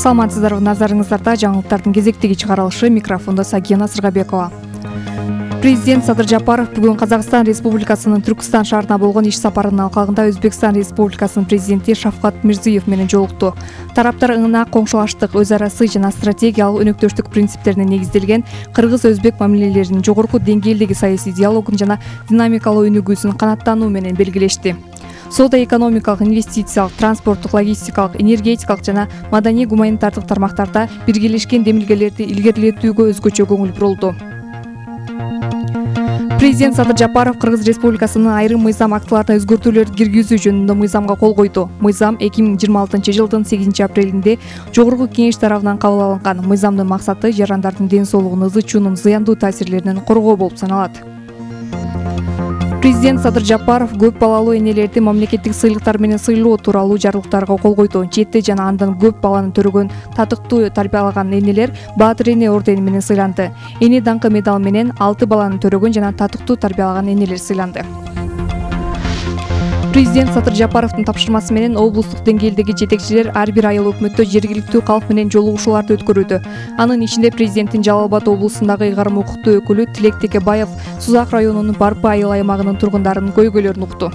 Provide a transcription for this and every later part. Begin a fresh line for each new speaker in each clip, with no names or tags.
Саламатсыздарбы, назарыңыздарда жаңылыктардын кезектеги чыгарылышы. Микрофондо Сагина Сыргабекова. Президент Садыр Жапаров бүгүн Казакстан Республикасынын Түркстан шаарына болгон иш сапарынын алкагында Өзбекстан Республикасынын президенти Шавкат Мирзиев менен жолукту. Тараптар ыңына коңшулаштык, өз ара сый жана стратегиялык өнөктөштүк принциптерине негизделген кыргыз-өзбек мамилелеринин жогорку деңгээлдеги саясий диалогун жана динамикалуу өнүгүүсүн канааттануу менен белгилешти. Соода-экономикалык, инвестициялык, транспорттук, логистикалык, энергетикалык жана маданий-гуманитардык тармактарда биргелешкен демилгелерди илгерилетүүгө өзгөчө көңүл бурулду. Президент Садыр Жапаров Кыргыз Республикасынын айрым мыйзам актыларына өзгөртүүлөрдү киргизүү жөнүндө мыйзамга кол койду. Мыйзам 2026-жылдын 8-апрелинде Жогорку Кеңеш тарабынан кабыл алынган. Мыйзамдын максаты жарандардын ден соолугун ызы-чуунун зыяндуу таасирлеринен коргоо болуп саналат. Президент Садыр Жапаров көп балалуу энелерди мамлекеттик сыйлыктар менен сыйлоо тууралуу жарлыктарга кол койду. Четте жана андан көп баланы төрөгөн татыктуу тарбиялаган энелер Баатыр эне ордени менен сыйланды. Эне даңкы медал менен 6 баланы төрөгөн жана татыктуу тарбиялаган энелер сыйланды. Президент Садыр Жапаровдун тапшырмасы менен облустук деңгээлдеги жетекчилер ар бир айыл өкмөттө жергиликтүү калк менен жолугушууларды өткөрүүдө. Анын ичинде президенттин Жалал Абад облусундагы ыйгарым укуктуу өкүлү Тилек Текебаев Сузак районунун Барпы айыл аймагынын тургундарынын көйгөйлөрүн укту.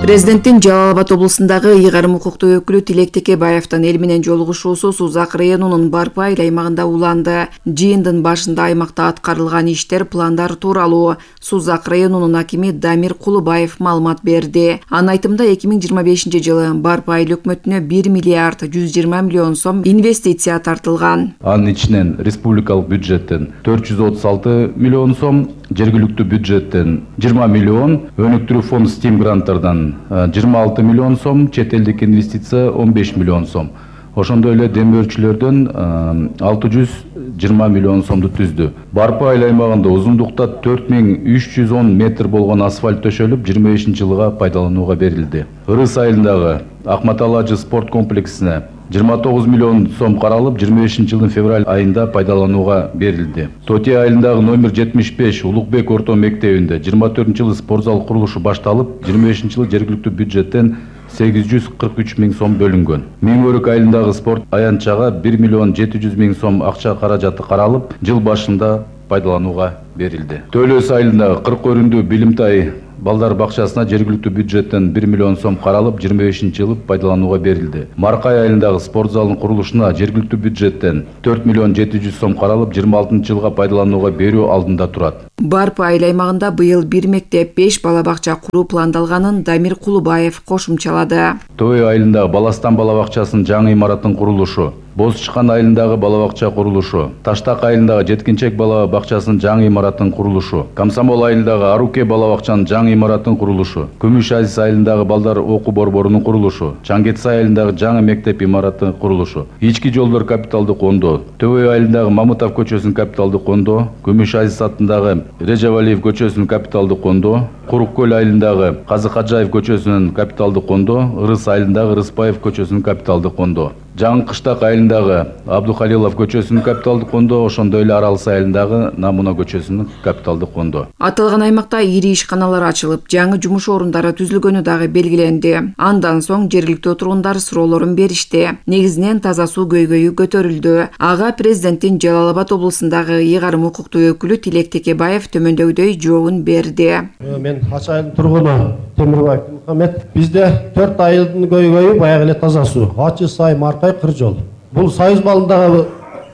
Президенттин Жалал Абад облусундагы ыйгарым укуктуу өкүлү Тилек Текебаевдин эл менен жолугушуусу Сузак районунун Барпы айыл аймагында уланды. Жыйындын башында аймакта аткарылган иштер, пландар тууралуу Сузак районунун акими Дамир Кулубаев маалымат берди. Анын айтымында 2025-жылы Барпы айыл өкмөтүнө 1 миллиард 120 миллион сом инвестиция тартылган.
Анын ичинен республикалык бюджеттен 436 миллион сом, жергиликтүү бюджеттен 20 миллион, өнүктүрүү фонд Steam гранттардан 26 миллион сом, чет элдик инвестиция 15 миллион сом. Ошондой эле демөөрчүлөрдөн 620 миллион сомду түздү. Барпы айыл аймагында узундукта 4310 метр болгон асфальт төшөлүп, 25-жылга пайдаланууга берилди. Ырыс айылындагы Акматалажы спорт комплексине 29 миллион сом каралып, 25-жылдын февраль айында пайдаланууга берилди. Тоти айылындагы номер 75 Улукбек орто мектебинде 24-жылы спортзал курулушу башталып, 25-жылы жергиликтүү бюджеттен 843 миң сом бөлүнгөн. Миңөрүк айылындагы спорт аянтчага 1 миллион 700 миң сом акча каражаты каралып, жыл башында пайдаланууга берилди. Төлөс айылындагы 40 өрүндүү билимтай балдар бакчасына жергиликтүү бюджеттен 1 миллион сом каралып, 25-жылы пайдаланууга берилди. Маркай айылындагы спорт залынын курулушуна жергиликтүү бюджеттен 4 миллион 700 сом каралып, 26-жылга пайдаланууга берүү алдында турат.
Барпы айыл аймагында быйыл 1 мектеп, 5 бала бакча куруу пландалганын Дамир Кулубаев кошумчалады.
Той айылындагы Баластан бала бакчасынын жаңы имараттын курулушу, Боз-Чыкан айылындагы бала бакча курулушу, Таштак айылындагы жеткинчек бала бакчасынын жаңы имараттын курулушу, Комсомол айылындагы Аруке бала бакчанын жаңы имараттын курулушу, Күмүш Азиз айылындагы балдар окуу борборунун курулушу, Чаңгетсай айылындагы жаңы мектеп имараттын курулушу, Ички жолдор капиталдык кондоо, Төбөй айылындагы Мамытов көчөсүнүн капиталдык кондоо, Күмүш Азиз аттындагы Режевалиев көчөсүнүн капиталдык кондоо, Курук көл айылындагы Казы Каджаев көчөсүнүн капиталдык кондоо, Ырыс айылындагы Рыспаев көчөсүнүн капиталдык кондоо, Жаңы Кыштак айылындагы Абдухалилов көчөсүнүн капиталдык кондоо, ошондой эле Аралсы айылындагы Намуна көчөсүнүн капиталдык кондоо.
Аталган аймакта ири ишканалар ачылып, жаңы жумуш орундары түзүлгөнү дагы белгиленди. Андан соң жергиликтүү тургундар суроолорун беришти. Негизинен таза суу көйгөйү көтөрүлдү. Ага президенттин Жалал Абад облусундагы ыйгарым укуктуу өкүлү Тилек Текебаев төмөндөгүдөй жообун берди.
Мен Ачы айылдын тургуну Темирбаев Мухаммед. Бизде 4 айылдын көйгөйү баягы эле таза суу. Ачы сай, Маркай, Кыржол. Бул Союз балындагы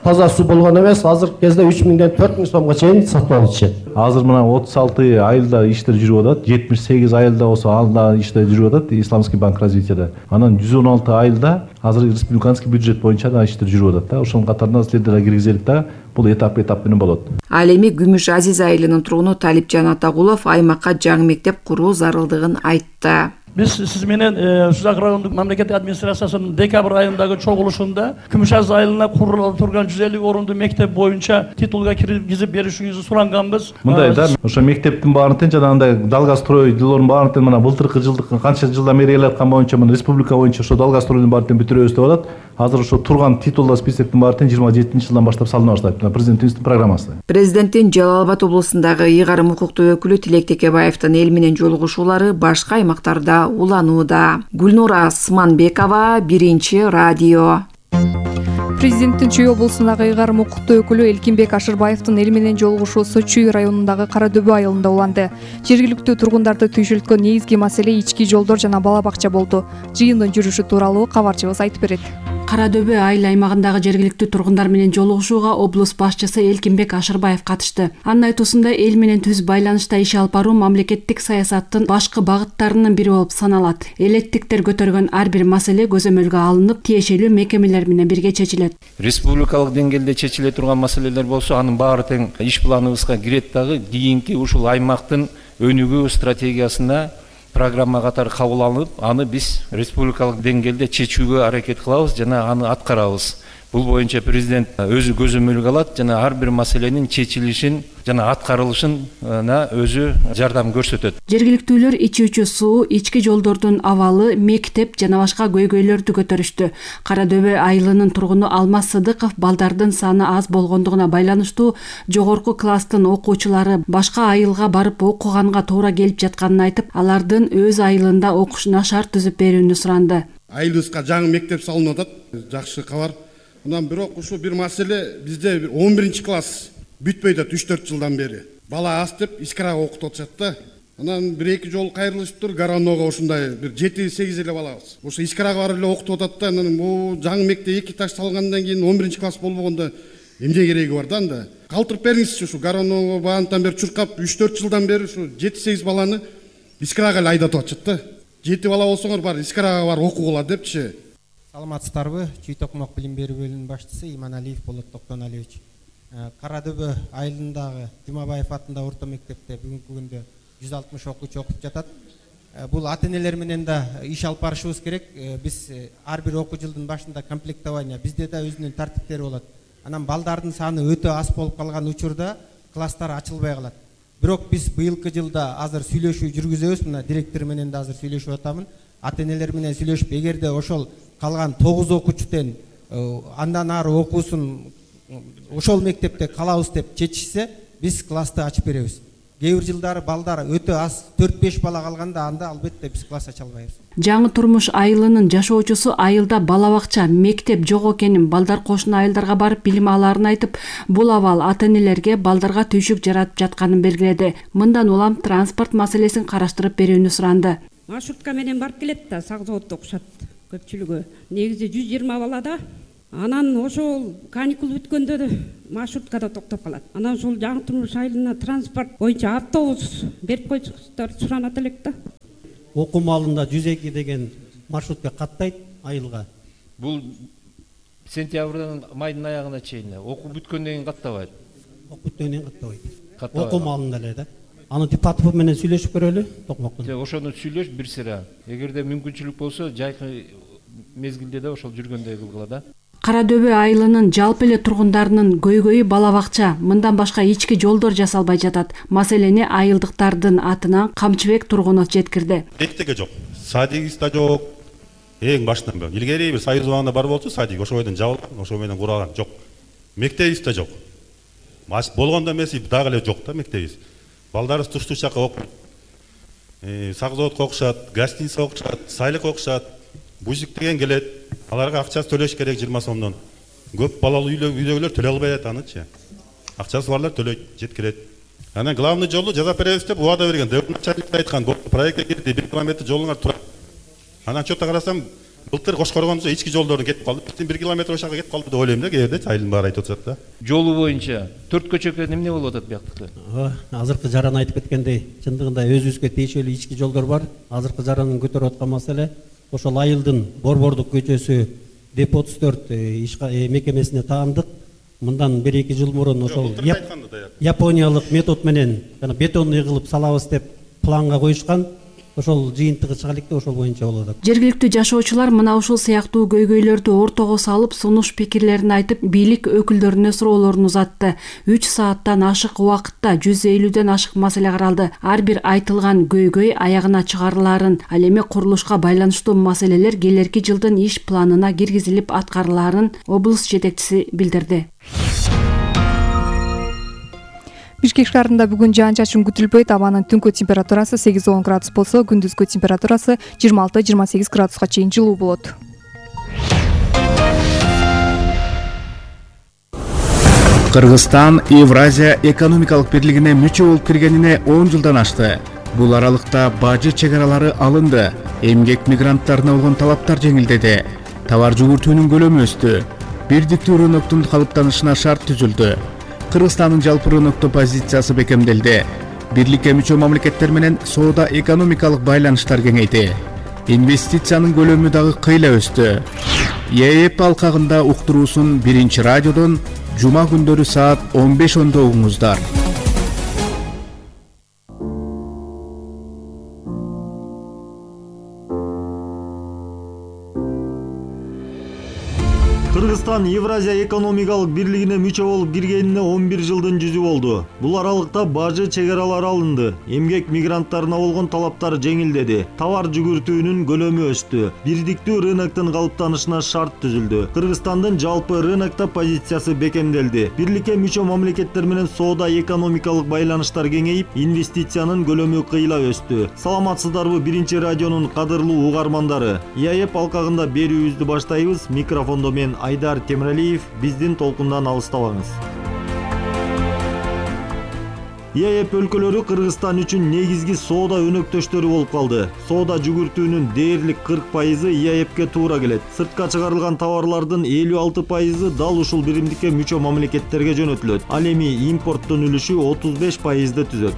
таза суу болгон эмес, азыркы кезде 3 миңден 4 миң сомго чейин сатып алып ичет.
Азыр мына 36 айылда иштер жүрүп атат, 78 айылда болсо алда иштер жүрүп атат Исламский банк развитияда. Анан 116 айылда азыр республиканский бюджет боюнча да иштер жүрүп атат да. Ошонун катарында силерде киргизелик да. Бул этап менен болот.
Ал эми Күмүш Азиз айылынын тургуну Талипжан Атагулов аймакка жаңы мектеп куруу зарылдыгын айтты.
Biz siz менен Сузак райондук мамлекеттик администрациясынын декабрь айындагы чогулушунда Күмүш Азиз айылына курулуп турган 150 орунду мектеп боюнча титулга киргизип беришиңизди суранганбыз.
Мындай да, ошо мектептин баарын тең жанагындай Далгастрой жылдын баарын тең мына былтыркы жылдык канча жылдан бери элаткан боюнча мына республика боюнча ошо Далгастройдун баарын тең бүтүрөбүз деп атат. Азыр ошо турган титулда списоктун баарын тең 27-жылдан баштап салына баштайт. Президентибиздин программасы.
Президенттин Жалал Абад облусундагы ыйгарым укуктуу өкүлү Тилек Текебаевдин эл менен жолугушуулары башка аймактарда уланууда. Гүлнура Сманбекова, Биринчи радио.
Президенттин Чүй облусундагы ыйгарым укуктуу өкүлү Элкинбек Ашырбаевдин эл менен жолугушуусу Чүй районундагы Кара Дөбө айылында уланды. Жергиликтүү тургундарды түйшүлткөн негизги маселе ички жолдор жана бала бакча болду. Жыйындын жүрүшү тууралуу кабарчыбыз айтып берет.
Кара Дөбө айыл аймагындагы жергиликтүү тургундар менен жолугушууга облус башчысы Элкинбек Ашырбаев катышты. Анын айтуусунда эл менен түз байланышта иш алып баруу мамлекеттик саясаттын башкы багыттарынын бири болуп саналат. Электиктер көтөргөн ар бир маселе көзөмөлгө алынып, тиешелүү мекемелер менен бирге чечилет.
Республикалык деңгээлде чечиле турган маселелер болсо, анын баары тең иш планыбызга кирет дагы. Кийинки ушул аймактын өнүгүү стратегиясына программа катары кабыл алынып, аны биз республикалык деңгээлде чечүүгө аракет кылабыз жана аны аткарабыз. Бул боюнча президент өзү көзөмөлгө алат жана ар бир маселенин чечилишин жана аткарылышына өзү жардам көрсөтөт.
Жергиликтүүлөр ичүүчү суу, ички жолдордун абалы, мектеп жана башка көйгөйлөрдү көтөрүштү. Кара Дөбө айылынын тургуну Алмаз Сыдыков балдардын саны аз болгондугуна байланыштуу жогорку класстын окуучулары башка айылга барып окуганга туура келип жатканын айтып, алардын өз айылында окушуна шарт түзүп берүүнү суранды.
Айылыбызга жаңы мектеп салынып атат. Жакшы кабар. Анан бирок ушул бир маселе бизде 11 класс бүтпөйт атат 3-4 жылдан бери. Бала аз деп Искарага окутуп атышат да. Анан 1-2 жол кайрылышыптыр, Гаранога ушундай бир 7-8 эле балабыз. Ошо Искарага барып эле окутуп атат да. Анан бул жаңы мектеп 2 этаж салгандан кийин 11 класс болбогондо эмне кереги бар да анда? Калтырып бериңизчи ушу Гаранога баантан бери чуркап 3-4 жылдан бери ушу 7-8 баланы Искарага эле айдатып атышат да. 7 бала болсоңор бар Искарага бар окугула депчи.
Саламатсыздарбы? Чүй Токмок билим берүү бөлүмүнүн башчысы Иманалиев Болот Токтоналиевич. Кара Дөбө айылындагы Жумабаев атындагы орто мектепте бүгүнкү күндө 160 окуучу окуп жатат. Бул ата-энелер менен да иш алып барышыбыз керек. Биз ар бир окуу жылдын башында комплектование, бизде да өзүнүн тартиптери болот. Анан балдардын саны өтө аз болуп калган учурда класстар ачылбай калат. Бирок биз быйылкы жылда азыр сүйлөшүү жүргүзөбүз. Мына директор менен да азыр сүйлөшүп атамын. Ата-энелер менен сүйлөшүп, эгерде ошол калган 9 окуучуден андан ары окуусун ошол мектепте калабыз деп чечишсе, биз классты ачып беребиз. Кээ бир жылдары балдар өтө аз 4-5 бала калганда анда албетте биз класс ача албайбыз.
Жаңы турмуш айылынын жашоочусу айылда бала бакча, мектеп жок экенин, балдар кошуна айылдарга барып билим алаарын айтып, бул абал ата-энелерге балдарга түйшүк жаратып жатканын белгиледи. Мындан улам транспорт маселесин караштырып берүүнү суранды.
Маршрутка менен барып келет да, Сак заводдо окушат көпчүлүгү. Негизи 120 балада. Анан ошол каникул бүткөндө маршруткада токтоп калат. Анан ошол жаңы турмуш айылына транспорт боюнча автобус берип койсуңуздар суранат элек да.
Окуу маалында 102 деген маршрутка каттайт айылга.
Бул сентябрдын майдын аягына чейин окуу бүткөндөн кийин каттабайт.
Окуу бүткөндөн кийин каттабайт. Окуу маалында эле да. Аны Типатов менен сүйлөшүп көрөлү, Токмоктун.
Ошону сүйлөш бир сыра. Эгерде мүмкүнчүлүк болсо, жайкы мезгилде да ошол жүргөндөй кылгыла да.
Кара Дөбө айылынын жалпы эле тургундарынын көйгөйү бала бакча, мындан башка ички жолдор жасалбай жатат. Маселени айылдыктардын атынан Камчыбек тургуну жеткирди.
Эктеге жок, садигиз да жок. Эң башынан бери илгери бир союз убагында бар болчу, садик ошол бойдон жабылган, ошол менен куралган жок. Мектебиз да жок. Болгондо эмес дагы эле жок да мектебиз. Балдарыбыз туш-туш жака окуйт. Сак заводко окушат, гостиница окушат, сайлык окушат. Бужик деген келет. Аларга акчасы төлөш керек 20 сомдон. Көп балалуу үйлөгүлөр төлөй албай атанычы. Акчасы барлар төлөйт, жеткирет. Анан главный жолду жасап беребиз деп убада берген. Начальник айткан, проектке кирди, 1 километр жолуңар турат. Анан чөтө карасам, былтыр Кошкоргондо ички жолдордун кетип калды. 1 километр ошага кетип калды деп ойлойм да, кээде айылдын баары айтып атат да.
Жолу боюнча 4 көчөккө эмне болуп атат бияктыкта?
Азыркы жаран айтып кеткендей, чындыгында өзүбүзгө тиешелүү ички жолдор бар. Азыркы жарандын көтөрүп аткан маселе ошол айылдын Борбордук көчөсү Деп 34 мекемесине таандык. Мындан 1-2 жыл мурун ошол Япониялык метод менен бетонный кылып салабыз деп планга коюшкан. Ошол жыйынтыгы чыга электе, ошол боюнча болот.
Жергиликтүү жашоочулар мына ушул сыяктуу көйгөйлөрдү ортого салып, сунуш пикирлерин айтып, бийлик өкүлдөрүнө суроолорун узатты. 3 сааттан ашык убакытта 150ден ашык маселе каралды. Ар бир айтылган көйгөй аягына чыгарылаарын, ал эми курулушка байланыштуу маселелер келерки жылдын иш планына киргизилип аткарылаарын облус жетекчиси билдирди.
Бишкек шаарында бүгүн жаан-чачын күтүлбөйт. Абанын түнкү температурасы 8-10 градус болсо, күндүзгү температурасы 26-28 градуска чейин жылуу болот.
Кыргызстан Евразия экономикалык бирлигине мүчө болуп киргенине 10 жылдан ашты. Бул аралыкта бажы чек аралары алынды. Эмгек мигранттарына болгон талаптар жеңилдеди. Товар жүгүртүүнүн көлөмү өстү. Бирдиктүү рыноктун калыптанышына шарт түзүлдү. Кыргызстандын жалпы рынокто позициясы бекемделди. Бирликке мүчө мамлекеттер менен соода экономикалык байланыштар кеңейди. Инвестициянын көлөмү дагы кыйла өстү. ЕЭП алкагында уктуруусун 1 радиодон жума күндөрү саат 15:10 угуңуздар.
Кыргызстан Евразия экономикалык бирлигине мүчө болуп киргенине 11 жылдын жүзү болду. Бул аралыкта бажы чек аралары алынды. Эмгек мигранттарына болгон талаптар жеңилдеди. Товар жүгүртүүнүн көлөмү өстү. Бирдиктүү рыноктун калыптанышына шарт түзүлдү. Кыргызстандын жалпы рынокто позициясы бекемделди. Бирликке мүчө мамлекеттер менен соода экономикалык байланыштар кеңейип, инвестициянын көлөмү кыйла өстү. Саламатсыздарбы 1 радионун кадырлуу угармандары? ЕЭП алкагында берүүбүздү баштайбыз. Микрофондо мен Айдар Темиралиев, биздин толкундан алыстабаңыз. ЕЭП өлкөлөрү Кыргызстан үчүн негизги соода өнөктөштөрү болуп калды. Соода жүгүртүүнүн дээрлик 40% ЕЭПке туура келет. Сыртка чыгарылган товарлардын 56% дал ушул биримдикке мүчө мамлекеттерге жөнөтүлөт. Ал эми импорттун үлүшү 35%ды түзөт.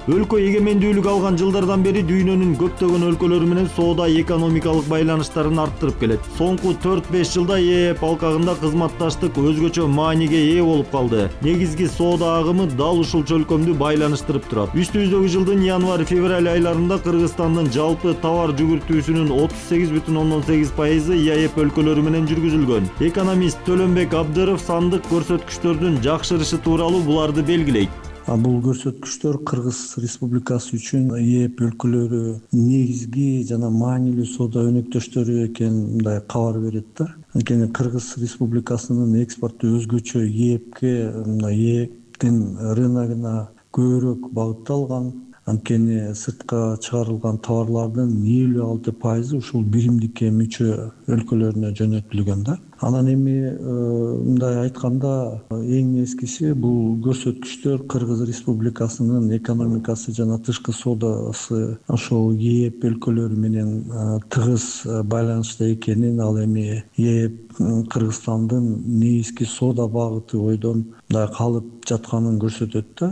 Өлкө эгемендүүлүк алган жылдардан бери дүйнөнүн көптөгөн өлкөлөрү менен соода экономикалык байланыштарын арттырып келет. Соңку 4-5 жылда ЕЭП алкагында кызматташтык өзгөчө мааниге ээ болуп калды. Негизги соода агымы дал ушул чөлкөмдү байланыштырып турат. Үстүбүздөгү жылдын январь-февраль айларында Кыргызстандын жалпы товар жүгүртүүсүнүн 38,8% ЕЭП өлкөлөрү менен жүргүзүлгөн. Экономист Төлөнбек Абдыров сандык көрсөткүчтөрдүн жакшырышы тууралуу буларды белгилейт.
Бул көрсөткүчтөр Кыргыз Республикасы үчүн ЕЭП өлкөлөрү негизги жана маанилүү соода өнөктөштөрү экенин мындай кабар берет да. Анткени Кыргыз Республикасынын экспорту өзгөчө ЕЭПтин рыногуна көбүрөөк багытталган. Анткени сыртка чыгарылган товарлардын 56% ушул биримдикке мүчө өлкөлөрүнө жөнөтүлгөн да. Анан эми мындай айтканда эң эскиси бул көрсөткүчтөр Кыргыз Республикасынын экономикасы жана тышкы соодасы ошол ЕЭП өлкөлөрү менен тыгыз байланышта экенин, ал эми ЕЭП Кыргызстандын негизги соода багыты ойдон мындай калып жатканын көрсөтөт да.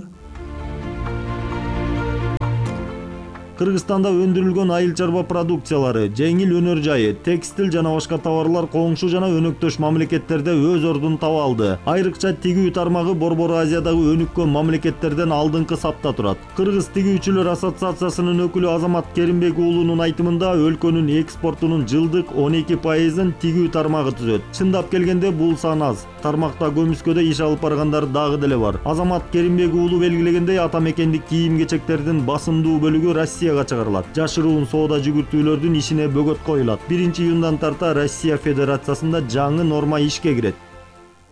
Кыргызстанда өндүрүлгөн айыл чарба продукциялары, жеңил өнөр жайы, текстил жана башка товарлар коңшу жана өнөктөш мамлекеттерде өз ордун таба алды. Айрыкча тигүү тармагы Борбор Азиядагы өнүккөн мамлекеттерден алдыңкы сапта турат. Кыргыз тигүүчүлөр ассоциациясынын өкүлү Азамат Керимбек уулунун айтымында өлкөнүн экспортунун жылдык 12%-ын тигүү тармагы түзөт. Чындап келгенде бул сан аз. Тармакта көмүскөдө иш алып баргандар дагы деле бар. Азамат Керимбек уулу белгилегендей, ата мекендик кийим-кечектердин басымдуу бөлүгү Россия чыгарылат. Жашыруун соода жүгүртүүлөрдүн ишине бөгөт коюлат. 1 июндан тарта Россия Федерациясында жаңы норма ишке кирет.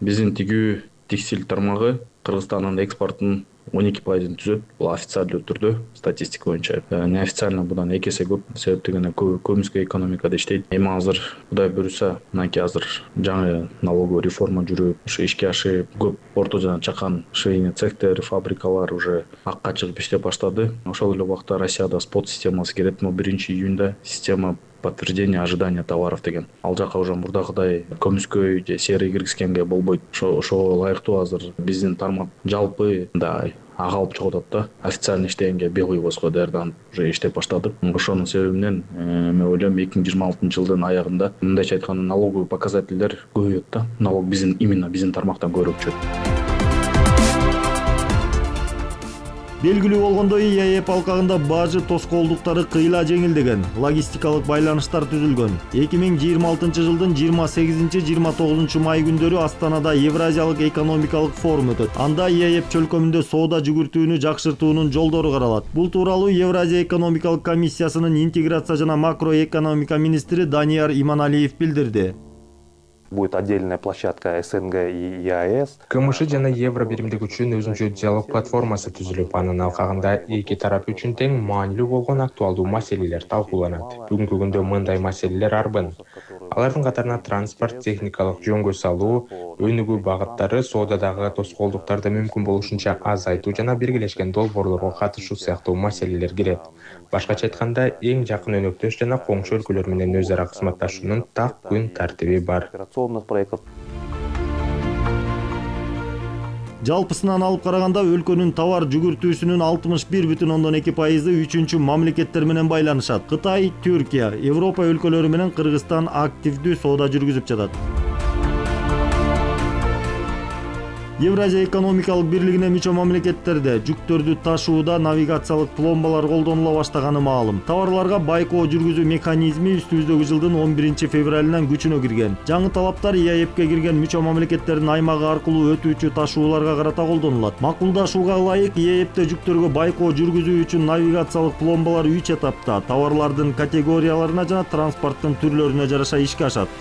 Биздин тигүү текстиль тармагы Кыргызстандын экспортунун 12%-ын түзөт. Бул официалдуу түрдө статистика боюнча. Неофициально будан 2 эсе көп. Себеп дегенде көмүскө экономикада иштейт. Эми азыр Кудай буюрса, мынакей азыр жаңы налоговый реформа жүрүп, ушу ишке ашып, көп орто жана чакан швейный цехтер, фабрикалар уже акка чыгып иштеп баштады. Ошол эле убакта Россияда спот системасы керет. 1 июнда система подтверждение ожидания товаров деген. Ал жака уже мурдагыдай көмүскө же серый киргизгенге болбойт. Ошого ылайыктуу азыр биздин тармак жалпы мындай ага алып чыгып атат да. Официально иштегенге бел койбоско даярданып уже иштеп баштадык. Ошонун себебинен мен ойлойм 2026-жылдын аягында мындайча айтканда налоговый показательдер көбөйөт да. Налог именно биздин тармактан көбүрөөк түшөт.
Белгилүү болгондой, ЕЭП алкагында бажы тоскоолдуктары кыйла жеңилдеген, логистикалык байланыштар түзүлгөн. 2026 жылдын 28-29 май күндөрү Астанада Евразиялык экономикалык форум өтөт. Анда ЕЭП чөлкөмүндө соода жүгүртүүнү жакшыртуунун жолдору каралат. Бул тууралуу Евразия экономикалык комиссиясынын интеграция жана макроэкономика министри Данияр Иманалиев билдирди.
Будет отдельная площадка СНГ и ЕАЭС.
КМШ жана Евро биримдик үчүн өзүнчө диалог платформасы түзүлүп, анын алкагында эки тарап үчүн тең маанилүү болгон актуалдуу маселелер талкууланат. Бүгүнкү күндө мындай маселелер арбын. Алардын катарына транспорт, техникалык жөнгө салуу, өнүгүү багыттары, соодадагы тоскоолдуктарды мүмкүн болушунча азайтуу жана биргелешкен долбоорлорго катышуу сыяктуу маселелер кирет. Башкача айтканда, эң жакын өнөктөш жана коңшу өлкөлөр менен өз ара кызматташуунун так күн тартиби бар.
Жалпысынан алып караганда өлкөнүн товар жүгүртүүсүнүн 61,2% үчүнчү мамлекеттер менен байланышат. Кытай, Түркия, Европа өлкөлөрү менен Кыргызстан активдүү соода жүргүзүп жатат. Евразия экономикалык бирлигине мүчө мамлекеттерде жүктөрдү ташууда навигациялык пломбалар колдонула баштаганы маалым. Товарларга байкоо жүргүзүү механизми үстүбүздөгү жылдын 11 февралынан күчүнө кирген. Жаңы талаптар ИАЭПке кирген мүчө мамлекеттердин аймагы аркылуу өтүүчү ташууларга карата колдонулат. Макулдашууга ылайык ИАЭПте жүктөргө байкоо жүргүзүү үчүн навигациялык пломбалар 3 этапта товарлардын категорияларына жана транспорттун түрлөрүнө жараша ишке ашат.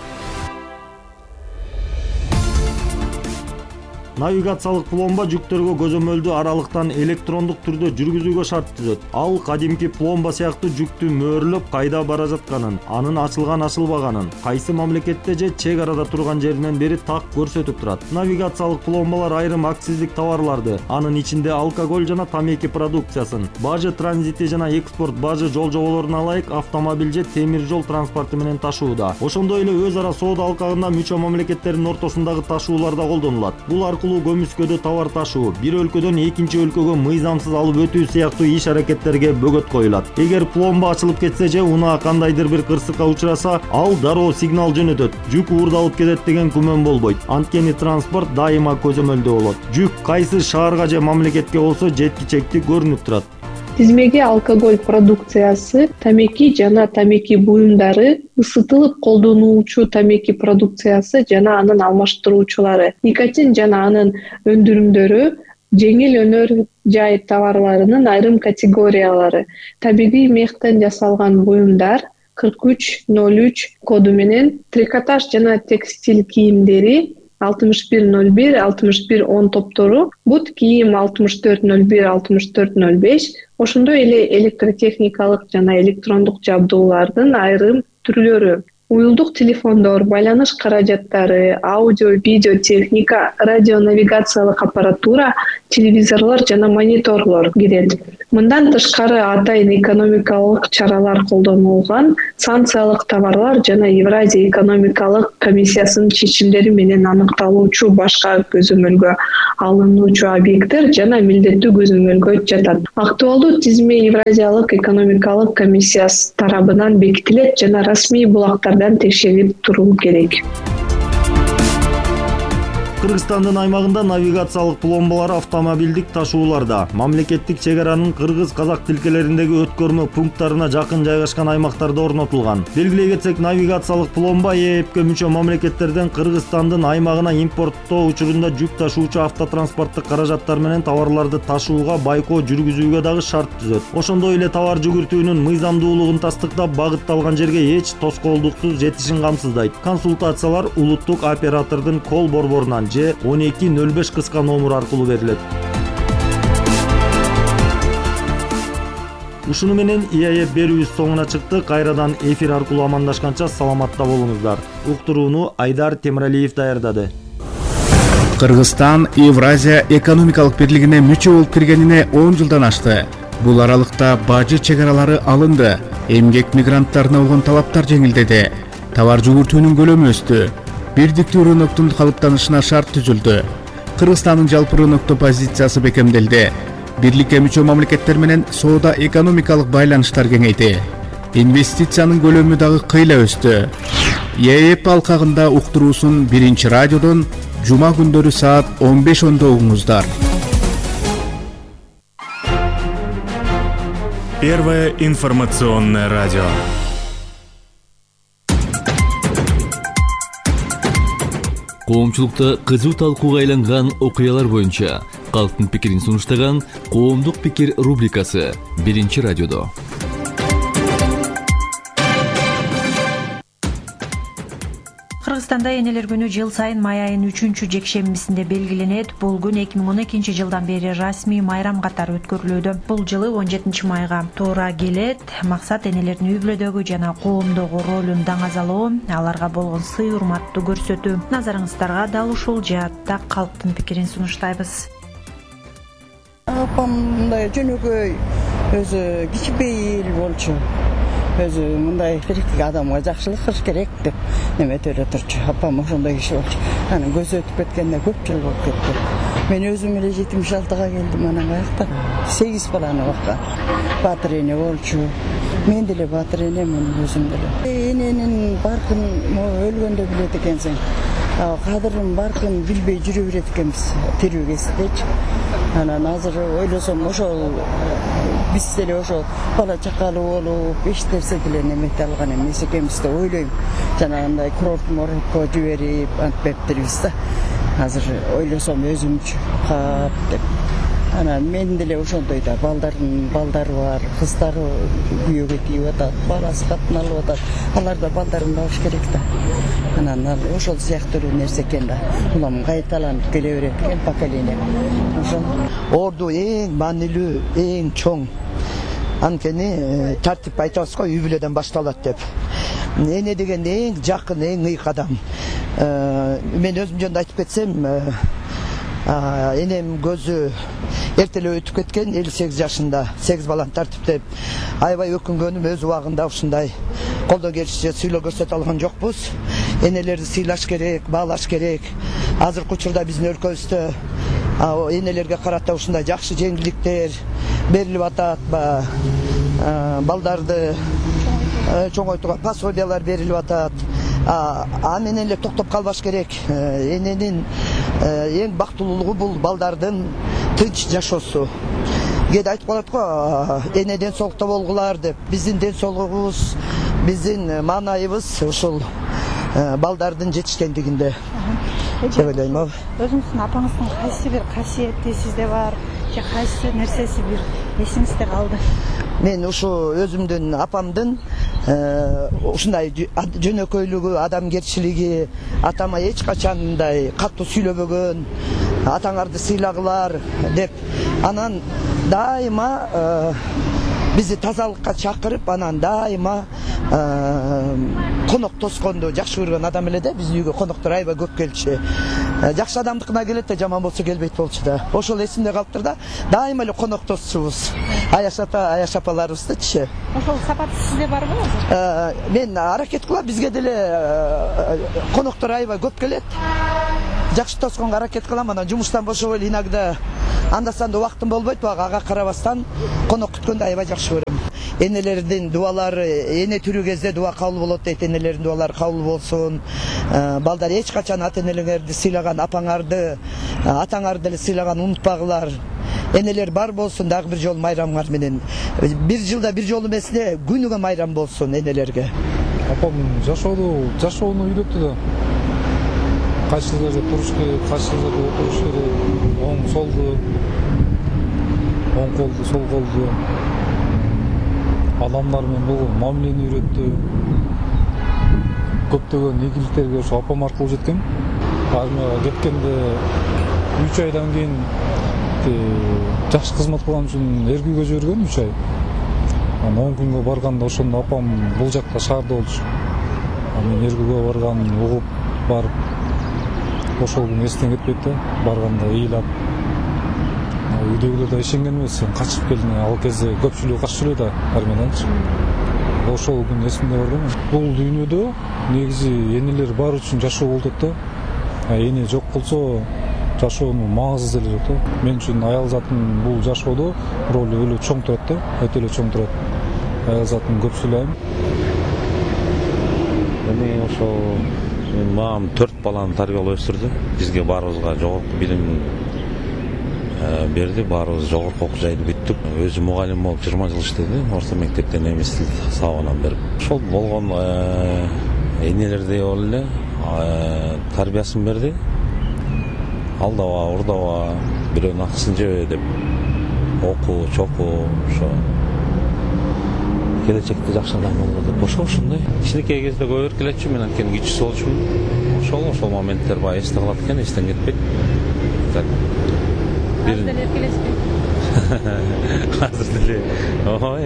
Навигациялык пломба жүктөргө көзөмөлдүү аралыктан электрондук түрдө жүргүзүүгө шарт түзөт. Ал кадимки пломба сыяктуу жүктү мөөрлөп, кайда бара жатканын, анын ачылган ачылбаганын, кайсы мамлекетте же чек арада турган жеринен бери так көрсөтүп турат. Навигациялык пломбалар айрым акциздик товарларды, анын ичинде алкоголь жана тамеки продукциясын, бажы транзити жана экспорт бажы жол жоболоруна ылайык автомобиль же темир жол транспорту менен ташууда. Ошондой эле өз ара соода алкагында мүчө мамлекеттердин ортосундагы ташууларда колдонулат. Бул аркылуу көмүскөдө товар ташуу, бир өлкөдөн экинчи өлкөгө мыйзамсыз алып өтүү сыяктуу иш-аракеттерге бөгөт коюлат. Эгер пломба ачылып кетсе же унаа кандайдыр бир кырсыкка учураса, ал дароо сигнал жөнөтөт. Жүк уурдалып кетет деген күмөн болбойт. Анткени транспорт дайыма көзөмөлдө болот. Жүк кайсы шаарга же мамлекетке болсо жеткичекти көрүнүп турат.
Тизмеге алкоголь продукциясы, тамеки жана тамеки буюмдары, ысытылып колдонулуучу тамеки продукциясы жана анын алмаштыруучулары, никотин жана анын өндүрүмдөрү, жеңил өнөр жай товарларынын айрым категориялары, табигый мехтен жасалган буюмдар 4303 коду менен, трикотаж жана текстиль кийимдери 6101, 6110 топтору, бут кийим 6401, 6405, ошондой эле электротехникалык жана электрондук жабдуулардын айрым түрлөрү, уюлдук телефондор, байланыш каражаттары, аудио, видео техника, радионавигациялык аппаратура, телевизорлор жана мониторлор кирет. Мындан тышкары атайын экономикалык чаралар колдонулган санкциялык товарлар жана Евразия экономикалык комиссиясынын чечимдери менен аныкталуучу башка көзөмөлгө алынуучу объекттер жана милдеттүү көзөмөлгө жатат. Актуалдуу тизме Евразиялык экономикалык комиссиясы тарабынан бекитилет жана расмий булактардан текшерип туруу керек.
Кыргызстандын аймагында навигациялык пломбалар автомобилдик ташууларда, мамлекеттик чек аранын кыргыз-казак тилкелериндеги өткөрмө пункттарына жакын жайгашкан аймактарда орнотулган. Белгилей кетсек, навигациялык пломба ИАЭПке мүчө мамлекеттерден Кыргызстандын аймагына импорттоо учурунда жүк ташуучу автотранспорттук каражаттар менен товарларды ташууга байкоо жүргүзүүгө дагы шарт түзөт. Ошондой эле товар жүгүртүүнүн мыйзамдуулугун тастыктап, багытталган жерге эч тоскоолдуксуз жетишин камсыздайт. Консультациялар улуттук оператордун кол борборунан же 1205 кыска номер аркылуу берилет. Ушуну менен ИАЭП берүүбүз соңуна чыкты. Кайрадан эфир аркылуу амандашканча саламатта болуңуздар. Уктурууну Айдар Темиралиев даярдады.
Кыргызстан Евразия экономикалык бирлигине мүчө болуп киргенине 10 жылдан ашты. Бул аралыкта бажы чек аралары алынды. Эмгек мигранттарына болгон талаптар жеңилдеди. Товар жүгүртүүнүн көлөмү өстү. Бирдиктүү рыноктун калыптанышына шарт түзүлдү. Кыргызстандын жалпы рынокто позициясы бекемделди. Бирликке мүчө мамлекеттер менен соода экономикалык байланыштар кеңейди. Инвестициянын көлөмү дагы кыйла өстү. ИАЭП алкагында уктуруусун Биринчи радиодон жума күндөрү саат 15:10 угуңуздар.
Первое информационное радио.
Коомчулукта кызуу талкууга айланган окуялар боюнча калктын пикирин сунуштаган Коомдук пикир рубрикасы Биринчи радиодо.
Кыргызстанда энелер күнү жыл сайын май айынын 3-жекшембисинде белгиленет. Бул күн 2012 жылдан бери расмий майрам катары өткөрүлүүдө. Бул жылы 17 майга туура келет. Максат энелердин үй-бүлөдөгү жана коомдогу ролун даңазалоо, аларга болгон сый урматтуу көрсөтүү. Назарыңыздарга дал ушул жаатта калктын пикирин сунуштайбыз.
Апам мындай жөнөкөй, өзү кичпейил болчу. Өзү мындай тирикти адамга жакшылык кылыш керек деп неметип эле турчу. Апам ошондой киши болчу. Анан көзү өтүп кеткенде көп жыл болуп кетти. Мен өзүм эле 76-га келдим, анан каякта 8 баланы баккан. Батыр эне болчу. Мен деле батыр энемин өзүм деле. Эненин баркын өлгөндө билет экенсиң. Кадырын баркын билбей жүрө берет экенбиз тирүү кездечи. Анан азыр ойлосом ошол биз деле ошол бала чакалуу болуп эч нерсе деле немете алган эмес экенбиз деп ойлойм. Жанагындай курорт-моротко жиберип антпептирбиз да. Азыр ойлосом өзүмчү кап деп. Анан мен деле ошондой да, балдары бар, кыздары күйөөгө тийип атат, баласы катын алып атат. Алар да балдарын багыш керек да. Анан ал ошол сыяктуу нерсе экен да. Улам кайталанып келе берет экен поколение. Ошол
орду эң маанилүү, эң чоң. Анткени тартип айтабыз го, үй бүлөдөн башталат деп. Эне деген эң жакын, эң ыйык адам. Мен өзүм жөнүндө айтып кетсем, энем көзү эртелеп өтүп кеткен, 58 жашында, 8 баланы тартиптеп. Аябай өкүнгөнүм, өз убагында ушундай колдон келишинче сыйлоо көрсөтө алган жокпуз. Энелерди сыйлаш керек, баалаш керек. Азыркы учурда биздин өлкөбүздө энелерге карата ушундай жакшы жеңилдиктер берилип атат. Балдарды чоңойтууга пособиялар берилип атат. Менен эле токтоп калбаш керек. Эненин эң бактылуулугу бул балдардын тынч жашоосу. Кээде айтып калат го, эне ден соолукта болгулар деп. Биздин ден соолугубуз, биздин маанайыбыз ушул балдардын жетишкендигинде деп ойлойм.
Өзүңүздүн апаңыздын кайсы бир касиети сизде бар, же кайсы нерсеси бир эсиңизде калды?
Мен ушу өзүмдүн апамдын ушундай жөнөкөйлүгү, адамгерчилиги, атама эч качан мындай катуу сүйлөбөгөн, атаңарды сыйлагылар деп, анан дайыма бизди тазалыкка чакырып, анан дайыма конок тосконду жакшы көргөн адам эле да. Биздин үйгө коноктор аябай көп келчү. Жакшы адамдыкына келет да, жаман болсо келбейт болчу да. Ошол эсимде калыптыр да. Дайыма эле конок тосчубуз. Аяш ата, аяш апаларыбыздычы.
Ошол сапат сизде барбы азыр?
Мен аракет кылам, бизге деле коноктор аябай көп келет. Жакшы тосконго аракет кылам, анан жумуштан бошоп эле иногда анда-санда убактым болбойт, ага карабастан конок күткөндү аябай жакшы көрөм. Энелердин дуалары, эне тирүү кезде дуа кабыл болот дейт, энелердин дуалары кабыл болсун. Балдар эч качан ата-энелерди сыйлаган, апаңарды, атаңарды эле сыйлаган унутпагылар. Энелер бар болсун, дагы бир жолу майрамыңар менен. Бир жылда бир жолу эмес эле күнүгө майрам болсун энелерге.
Апам жашоону үйрөттү да. Кайсы жерде туруш керек, кайсы жерде отуруш керек, оң солду, оң колду, сол колду. Адамдар менен болгон мамилени үйрөттү. Көптөгөн ийгиликтерге ошо апам аркылуу жеткем. Армияга кеткенде 3 айдан кийин жакшы кызмат кылган үчүн Эргүүгө жиберген 3 ай. Анан 10 күнгө барганда ошондо апам бул жакта шаарда болчу. Мен Эргүүгө барган, угуп барып, ошол күн эстен кетпейт да. Барганда ыйлап, үйдөгүлөр да ишенген эмес, сен качып келдиң. Ал кезде көпчүлүгү качып эле да армияданчы. Ошол күн эсимде бар да. Бул дүйнөдө негизи энелер бар үчүн жашоо болот да. Эне жок болсо жашоонун маңызы деле жок да. Мен үчүн аял затын бул жашоодо ролу өлө чоң турат да, өтө эле чоң турат. Аял затын көп сүйлөйм.
Эми ошо мамам 4 баланы тарбиялап өстүрдү. Бизге баарыбызга жогорку билим берди, баарыбыз жогорку окуу жайды бүттүк. Өзү мугалим болуп 20 жыл иштеди, орто мектепте немис тил сабагынан берип. Ошол болгон энелердей болуп эле тарбиясын берди. Алдаба, урдаба, бирөөнүн акысын жебе деп окуу, чокуу, ошо келечекте жакшы адам болго деп ошондой. Кичинекей кезде көп эркелетчү, мен анткени кичүүсү болчумун. ошол моменттер баягы эсте калат экен, эстен кетпейт. Так.
Азыр деле эркелешпейт.
Азыр деле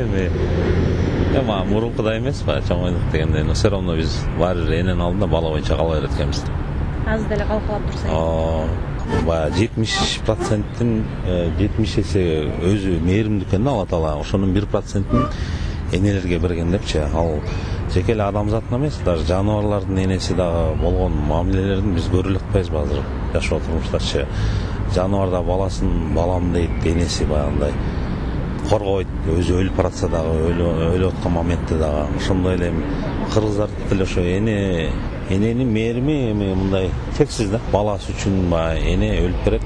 эми мурункудай эмес баягы чоңойлук дегенде, но все равно биз баары бир эненин алдында бала боюнча кала берет экенбиз.
Азыр деле калкалап турсаңыз.
Баягы 70%-тин 70 эсе өзү мээримдүү экен да Алла Таала. Ошонун 1%-ин энелерге берген депчи. Ал жеке эле адамзаттын эмес, даже жаныбарлардын энеси дагы болгон мамилелерин биз көрө эле атпайбызбы азыр жашоо турмуштачы. Жаныбар да баласын балам дейт, энеси баягындай коргойт, өзү өлүп баратса дагы, өлүп аткан моментте дагы. Ошондой эле кыргыздарда деле ошо эненин мээрими эми мындай чексиз да. Баласы үчүн баягы эне өлүп берет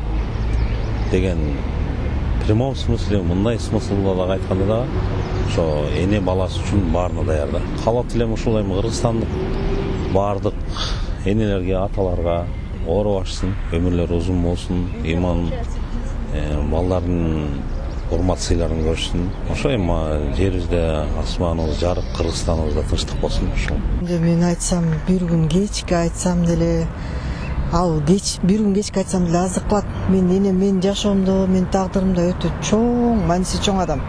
деген прямой смысле, мындай смыслда дагы айтканда дагы ошо эне баласы үчүн баарына даяр да. Калат элем ушул эми кыргызстандык баардык энелерге, аталарга оору башсын, өмүрлөрү узун болсун, иман балдардын урмат сыйларын көрүшсүн. Ошо эми жерибизде асманыбыз жарык, Кыргызстаныбызда тынчтык болсун. Ошол.
Мен айтсам, бир күн кечки айтсам деле, ал бир күн кечки айтсам деле аздык кылат. Менин жашоомдо, менин тагдырымда өтө чоң, мааниси чоң адам.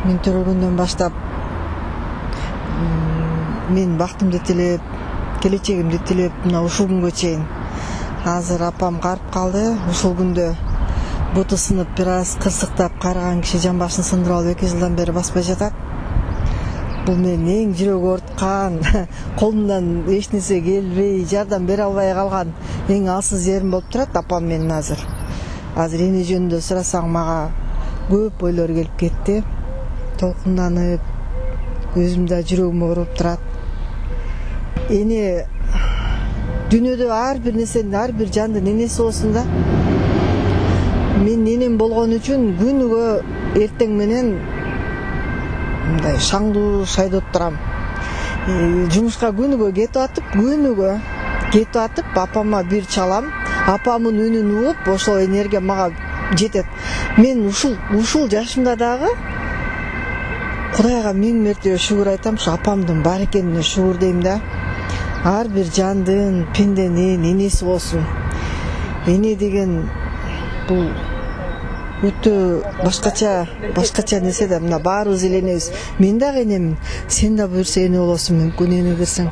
Мен төрөлгөндөн баштап мен бактымды тилеп, келечегимди тилеп, мына ушул күнгө чейин. Азыр апам карып калды. Ушул күндө буту сынып, бир аз кырсыктап карыган киши жан башын сындырып алып 2 жылдан бери баспай жатат. Бул менин эң жүрөгү орткан, колумдан эч нерсе келбей, жардам бере албай калган эң алсыз жерим болуп турат апам менен азыр. Азыр эне жөнүндө сурасаң мага көп ойлор келип кетти. Толкунданып, өзүм да жүрөгүм ооруп турат. Эне дүйнөдө ар бир нерсенин, ар бир жандын энеси болсун да. Мен энем болгон үчүн күнүгө эртең менен мындай шаңдуу шайдоп турам. Жумушка күнүгө кетип атып, апама бир чалам. Апамдын үнүн угуп, ошол энергия мага жетет. Мен ушул жашымда дагы Кудайга 1000 мертебе шүгүр айтам, ушу апамдын бар экенине шүгүр дейм да. Ар бир жандын, пенденин энеси болсун. Эне деген бул өтө башкача нерсе да. Мына баарыбыз эле энебиз. Мен дагы энемин. Сен да буюрса эне болосуң, мүмкүн эне десең.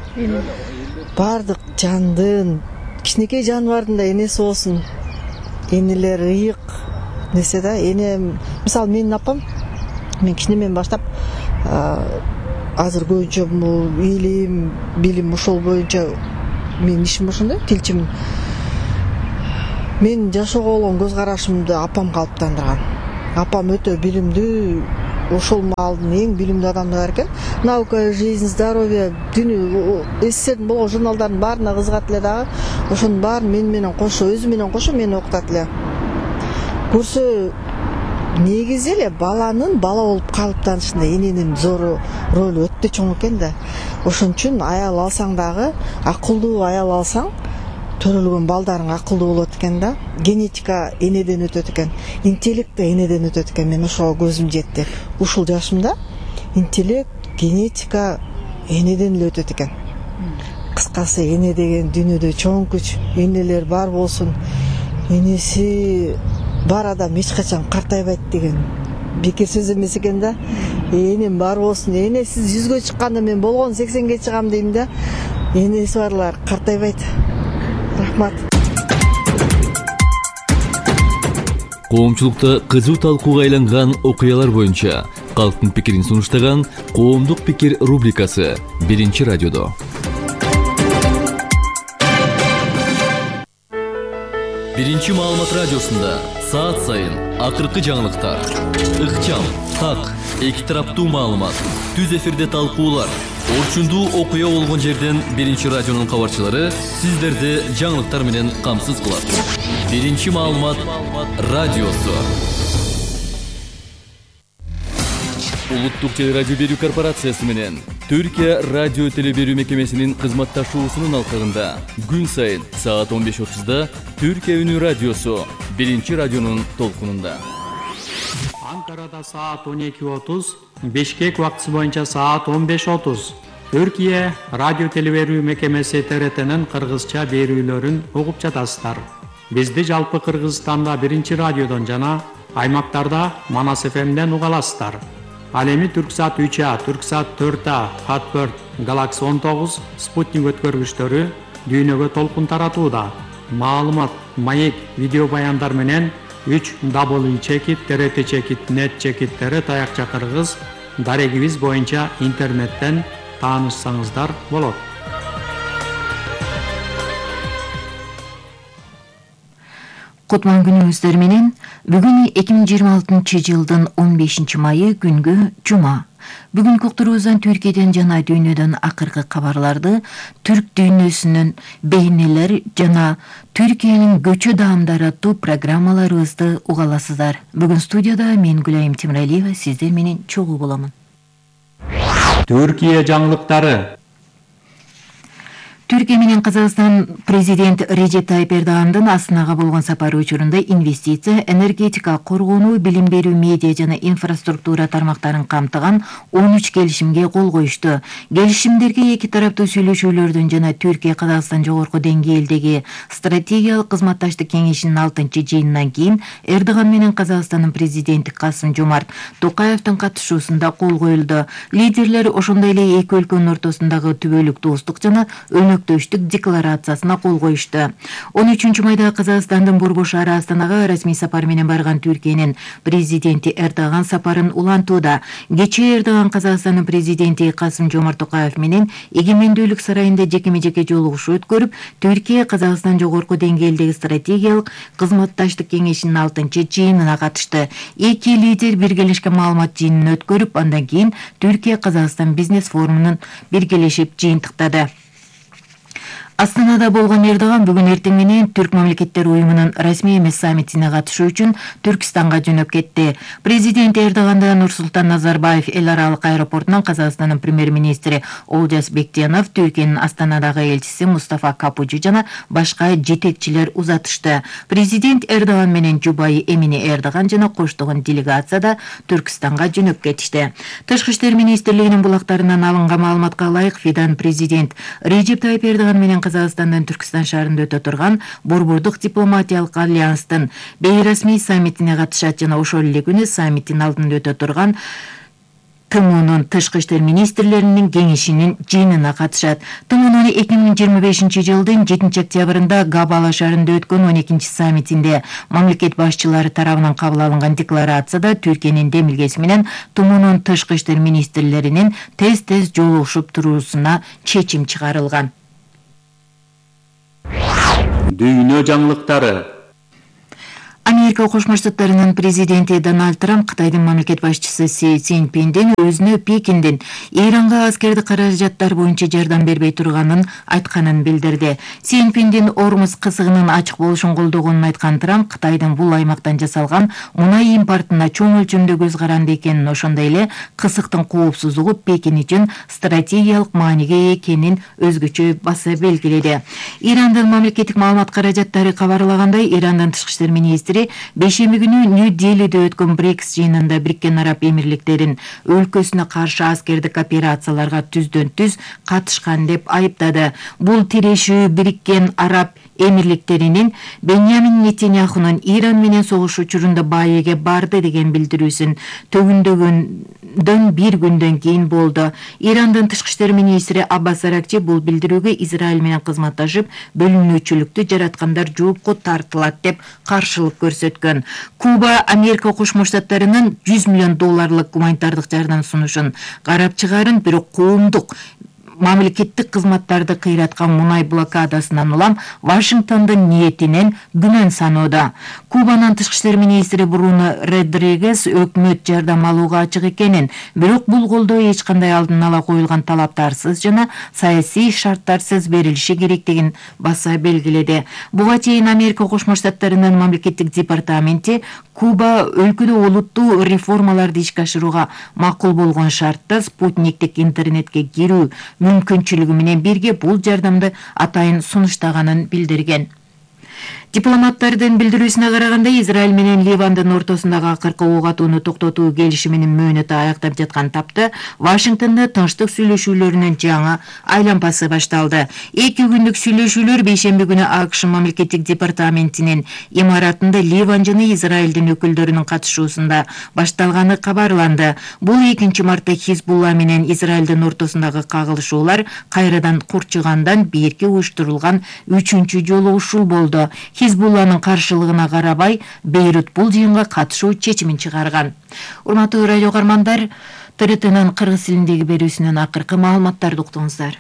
Бардык жандын, кичинекей жаныбардын да энеси болсун. Энелер ыйык нерсе да. Эне, мисалы менин апам, мен кичинемден баштап азыр көбүнчө илим, билим ошол боюнча менин ишим ошондой, тилчимин. Мен жашоого болгон көз карашымды апам калыптандырган. Апам өтө билимдүү, ошол маалдын эң билимдүү адамдары экен. Наука, жизнь, здоровье, дүнү, СССРдин болгон журналдардын баарына кызыгат эле дагы. Ошонун баарын менен кошо, өзү менен кошо мени окутат эле. Көрсө негизи эле баланын бала болуп калыптанышында эненин зор ролу өтө чоң экен да. Ошон үчүн аял алсаң дагы, акылдуу аял алсаң, төрөлгөн балдарың акылдуу болот экен да. Генетика энеден өтөт экен, интеллект да энеден өтөт экен. Мен ошого көзүм жетти. Ушул жашымда интеллект, генетика энеден эле өтөт экен. Кыскасы, эне деген дүйнөдө чоң күч. Энелер бар болсун. Энеси бар адам эч качан картайбайт деген бекер сөз эмес экен да. Энем бар болсун. Энесиз 100гө чыкканда мен болгон 80ге чыгам дейм да. Энеси барлар картайбайт. Рахмат.
Коомчулукта кызуу талкууга айланган окуялар боюнча калктын пикирин сунуштаган Коомдук пикир рубрикасы 1-радиодо. Биринчи маалымат радиосунда саат сайын акыркы жаңылыктар, ыкчам, так, эки тараптуу маалымат, түз эфирде талкуулар, орчундуу окуя болгон жерден 1-радионун кабарчылары сиздерди жаңылыктар менен камсыз кылат. 1-маалымат радиосу. Улуттук телерадио берүү корпорациясы менен Түркия радио теле берүү мекемесинин кызматташуусунун алкагында күн сайын саат 15:30да Түркия үнү радиосу 1-радионун толкунунда.
Анкарада саат 12:30, Бишкек убактысы боюнча саат 15:30. Түркия радио телеберүү мекемеси ТРТнын кыргызча берүүлөрүн угуп жатасыздар. Бизди жалпы Кыргызстанда 1 радиодон жана аймактарда Манас ФМден уга аласыздар. Ал эми Түрксат 3А, Түрксат 4А, Хат4, Галакси 19, Спутник өткөргүчтөрү дүйнөгө толкун таратууда. Маалымат, маек, видео баяндар менен 3w.trt.net таякча кыргыз дарегибиз боюнча интернеттен таанышсаңыздар болот.
Кутман күнүңүздөр менен. Бүгүн 2026 жылдын 15 майы күнгө жума. Бүгүнкү уктуруубуздан Түркияден жана дүйнөдөн акыркы кабарларды, түрк дүйнөсүнүн бейнелер жана Түркиянын көчө даамдары аттуу программаларыбызды уга аласыздар. Бүгүн студияда мен Гүлайым Темиралиева сиздер менен чогуу боламын.
Түркия жаңылыктары.
Түркия менен Казакстан президент Режеп Тайып Эрдогандын Астанага болгон сапары учурунда инвестиция, энергетика, коргонуу, билим берүү, медиа жана инфраструктура тармактарын камтыган 13 келишимге кол коюшту. Келишимдерге эки тараптуу сүйлөшүүлөрдөн жана Түркия Казакстан жогорку деңгээлдеги стратегиялык кызматташтык кеңешинин 6-жыйынынан кийин Эрдоган менен Казакстандын президенти Касым-Жомарт Токаевдин катышуусунда кол коюлду. Лидерлер ошондой эле эки өлкөнүн ортосундагы түбөлүк достук жана өнөктөштүк декларациясына кол коюшту. 13 майда Казакстандын Борбор шаары Астанага расмий сапар менен барган Түркиянын президенти Эрдоган сапарын улантууда. Кечээ Эрдоган Казакстандын президенти Касым-Жомарт Токаев менен Эгемендүүлүк сарайында жекеме-жеке жолугушуу өткөрүп, Түркия Казакстан жогорку деңгээлдеги стратегиялык кызматташтык кеңешинин 6-жыйынына катышты. Эки лидер биргелешкен маалымат жыйынын өткөрүп, андан кийин Түркия Казакстан бизнес форумунун биргелешип жыйынтыктады. Астанада болгон Эрдоган бүгүн эртең менен Түрк мамлекеттер уюмунун расмий эмес саммитине катышуу үчүн Түркистанга жөнөп кетти. Президент Эрдоганда Нурсултан Назарбаев эл аралык аэропортунан Казакстандын премьер-министри Олжас Бектенов, Түркиянын Астанадагы элчиси Мустафа Капучи жана башка жетекчилер узатышты. Президент Эрдоган менен жубайы Эмине Эрдоган жана коштогон делегацияда Түркистанга жөнөп кетишти. Тышкы иштер министрлигинин булактарынан алынган маалыматка ылайык, Фидан президент Режеп Тайып Эрдоган менен Казакстандын Түркистан шаарында өтө турган Борбордук дипломатиялык альянстын бейрасмий саммитине катышат жана ошол эле күнү саммиттин алдында өтө турган ТМУнун тышкы иштер министрлеринин кеңешинин жыйынына катышат. ТМУнун 2025 жылдын 7 октябрында Габала шаарында өткөн 12 саммитинде мамлекет башчылары тарабынан кабыл алынган декларацияда Түркиянын демилгеси менен ТМУнун тышкы иштер министрлеринин тез-тез жолугушуп туруусуна чечим чыгарылган.
Дүйнө жаңылыктары.
Америка Кошмо Штаттарынын президенти Дональд Трамп Кытайдын мамлекет башчысы Си Цзиньпиндин өзүнө Пекиндин Иранга аскердик каражаттар боюнча жардам бербей турганын айтканын билдирди. Си Цзиньпиндин Ормуз кысыгынын ачык болушун колдогонун айткан Трамп Кытайдын бул аймактан жасалган мунай импортуна чоң өлчөмдө көз каранды экенин, ошондой эле кысыктын коопсуздугу Пекин үчүн стратегиялык мааниге экенин өзгөчө баса белгиледи. Ирандын мамлекеттик маалымат каражаттары кабарлагандай, Ирандын тышкы иштер министри бейшемби күнү Нью-Делиде өткөн БРИКС жыйынында Бириккен Араб Эмирликтерин өлкөсүнө каршы аскердик операцияларга түздөн-түз катышкан деп айыптады. Бул тирешүү Бириккен Араб Эмирликтеринин Беньямин Нетаньяхунун Иран менен согуш учурунда Баеге барды деген билдирүүсүн төгүндөгөндөн бир күндөн кийин болду. Ирандын тышкы иштер министри Аббас Аракчи бул билдирүүгө Израиль менен кызматташып, бөлүнүүчүлүктү жараткандар жоопко тартылат деп каршылык көрсөткөн. Куба Америка Кошмо Штаттарынын $100 миллион гуманитардык жардам сунушун карап чыгарын, бирок коомдук мамлекеттик кызматтарды кыйраткан мунай блокадасынан улам Вашингтондун ниетинен күнөн саноодо. Кубанын тышкы иштер министри Бруно Родригес өкмөт жардам алууга ачык экенин, бирок бул колдоо эч кандай алдын ала коюлган талаптарсыз жана саясий шарттарсыз берилиши керектигин баса белгиледи. Буга чейин Америка Кошмо Штаттарынын мамлекеттик департаменти Куба өлкөдө олуттуу реформаларды ишке ашырууга макул болгон шартта спутниктик интернетке кирүү мүмкүнчүлүгү менен бирге бул жардамды атайын сунуштаганын билдирген. Дипломаттардын билдирүүсүнө караганда, Израиль менен Ливандын ортосундагы акыркы ок атууну токтотуу келишиминин мөөнөтү аягдап жаткан тапта Вашингтонда тынчтык сүйлөшүүлөрүнүн жаңы айланпасы башталды. 2 күндүк сүйлөшүүлөр бейшемби күнү АКШ мамлекеттик департаментинин имаратында Ливан жана Израилдин өкүлдөрүнүн катышуусунда башталганы кабарланды. Бул 2 мартта Хизбулла менен Израилдин ортосундагы кагылышуулар кайрадан курчугандан берки уюштурулган 3-чү жолугушуу болду. Хизбулланын каршылыгына карабай, Бейрут бул жыйынга катышуу чечимин чыгарган. Урматтуу радио каармандар, ТРТнын кыргыз тилиндеги берүүсүнөн акыркы маалыматтарды уктуңуздар.